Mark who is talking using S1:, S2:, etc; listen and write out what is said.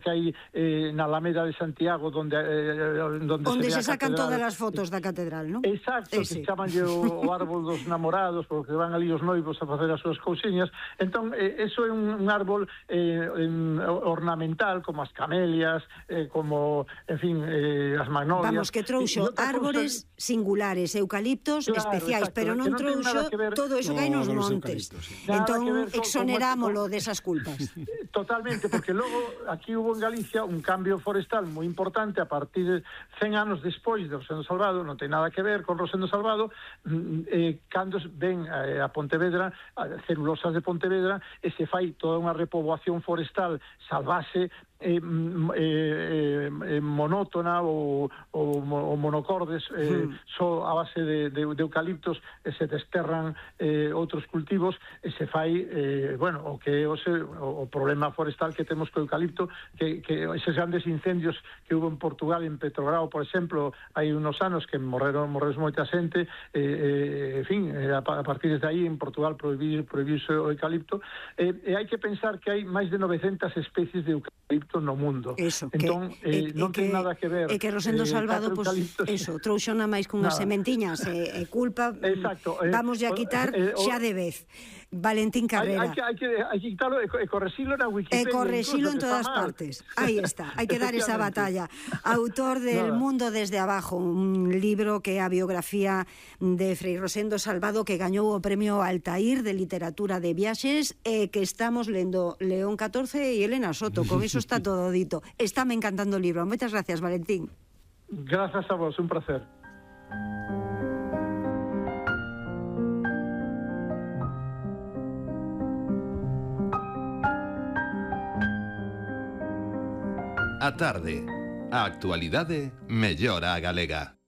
S1: que hai na Alameda de Santiago onde
S2: se sacan todas as fotos da catedral, non?
S1: Exacto, que chamanlle o árbol dos namorados, porque van ali os noivos a facer as súas cousiñas. Entón, eso é un árbol ornamental, como as camelias, como, en fin, as magnolias.
S2: Vamos, que trouxo árbores singulares, eucaliptos especiais, pero non trouxo todo eso que hai nos montes. Entón, exonerámolo desas culpas.
S1: Totalmente, porque logo aquí hubo en Galicia un cambio forestal moi importante a partir de 100 anos despois de Rosendo Salvado, non ten nada que ver con Rosendo Salvado, cando ven a Pontevedra, a celulosas de Pontevedra, e se fai toda unha repoboación forestal salvaxe, monótona ou monocordes, só a base de eucaliptos, e se desterran outros cultivos, e se fai, o que é o problema forestal que temos co eucalipto, que eses grandes incendios que hubo en Portugal, en Petrograo, por exemplo, hai unos anos que morreron moita xente, en fin, a partir de aí en Portugal prohibiuse o eucalipto, e hai que pensar que hai máis de 900 especies de eucalipto no mundo.
S2: Eso,
S1: entón, non ten nada que ver.
S2: E que Rosendo Salvado, trouxo na máis cunhas sementiñas, e culpa, vamos a quitar xa de vez. Valentín Carrera.
S1: Hai que quitarlo e correxilo na Wikipedia.
S2: E correxilo en todas partes. Aí está, hai que dar esa batalla. Autor del Mundo desde abajo, un libro que é a biografía de Frei Rosendo Salvado, que gañou o premio Altair de Literatura de Viaxes, e que estamos lendo León XIV e Elena Soto. Con eso está todo dito. Estáme encantando o libro. Moitas gracias, Valentín.
S1: Grazas a vos, un placer.
S3: A tarde, a actualidade mellora a galega.